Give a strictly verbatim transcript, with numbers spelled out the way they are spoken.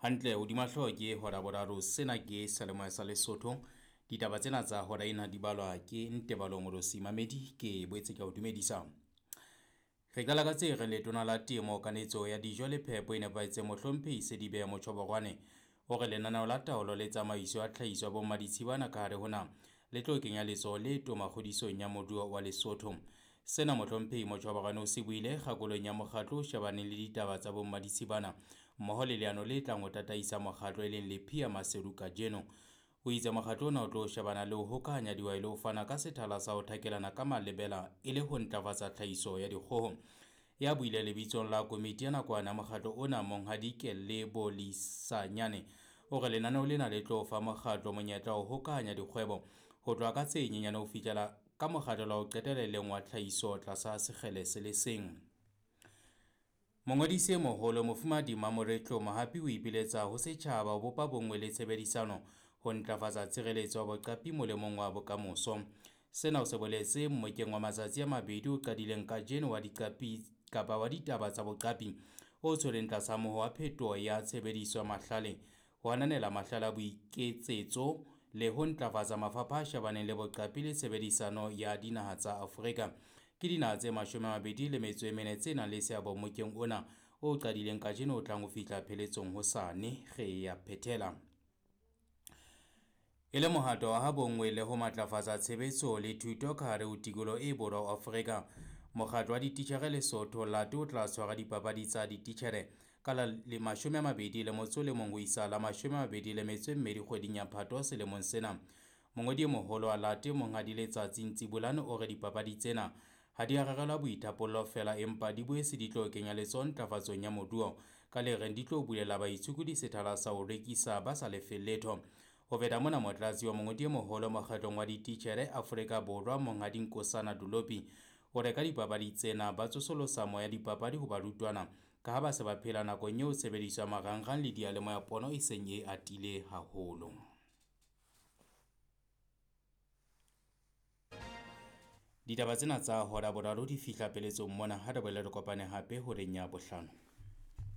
Hantle hodima hlooho ke hora boraro, sena ke seyalemoya sa Lesotho. Ditaba tsena tsa hora ena di balwa ke Ntebalo Morosi Mamedi, ke boetse ke o dumedisa. Re qala ka tse reng letona la temo, kanetso ya dijo le phepo e nepahetseng Mohlomphehi Sedibe Motjhoborwane o re lenaneo la taolo le tsamaiso ya tlhahiso ya bommaditshibana ka hare ho naha le tlo kenya letsoho le toma kgodisong ya moruo wa Lesotho. Sena Mohlomphehi Motjhoborwane o se buile kgakolong ya mokgatlo o shebaneng le ditaba tsa bommaditshibana mmoho le leano le tlang ho tataisa mokgatlo e leng Lephia Maseru kajeno. O itse mokgatlo ona o tlo shebana le ho hokahanya dihwai le ho fana ka sethala sa ho thakelana ka malebela e le ho ntlafatsa tlhahiso ya dikgoho. Ya buile lebitsong la komiti ya nakwana mokgatlo ona Monghadi Kelle Bolisanyane o re lenaneo lena le tlo fa mokgatlo monyetla wa ho hokahanya dikgwebo ho tloha ka tse nyenyane ho fihlela ka mokgatlo wa ho qetela e leng wa tlhahiso tlasa sekgele se le seng. Mongodisi e moholo Mofumahadi Mamoretlo Mohapi o ipiletsa ho setjhaba ho bopa bonngwe le tshebedisano ho ntlafatsa tshireletso ya boqapi molemong wa bokamoso. Sena o se boletse mmokeng wa matsatsi a mabedi o qadileng kajeno wa diqapi kapa wa ditaba tsa boqapi o tshwereng tlasa moho wa phetoho ya tshebediso ya mahlale ho ananela mahlale a boiketsetso le ho ntlafatsa mafapha a shebaneng le boqapi le tshebedisano ya dinaha tsa Afrika. Ke dinaha tse mashome a mabedi le metso e mene tse nang le seabo mmokeng ona o qadileng kajeno o tlang ho fihla pheletsong hosane. Re ya phethela. E le mohato wa ha bonngwe le ho matlafatsa tshebetso le thuto ka hare ho tikoloho e borwa ho Afrika. Mokgatlo wa dititjhere Lesotho Late o tla tshwara dipapadi tsa dititjhere ka la le mashome a mabedi le motso le mong ho isa la mashome a mabedi le metso e mmedi kgweding ya Phato selemong sena. Mongodi e moholo wa Late Monghadi Letsatsi Ntsibolane o re dipapadi tsena ha di a rerelwa boithapollo feela empa di boetse di tlo kenya letsoho ntlafatsong ya moruo ka le reng di tlo bulela baitshokodi sethala sa ho rekisa ba sa lefelle letho. Ho feta mona, motlatsi wa mongodi e moholo mokgatlong wa dititjhere Afrika Borwa Monghadi Nkosana Dolopi o re ka dipapadi tsena ba tsosolosa moya dipapadi ho barutwana ka ha ba se ba phela nakong eo tshebediso ya marangrang le diyalemoya pono e seng e atile haholo. Ditaba tsena tsa hora boraro di fihla peletsong mona, ha re boele re kopane hape horeng ya bohlano.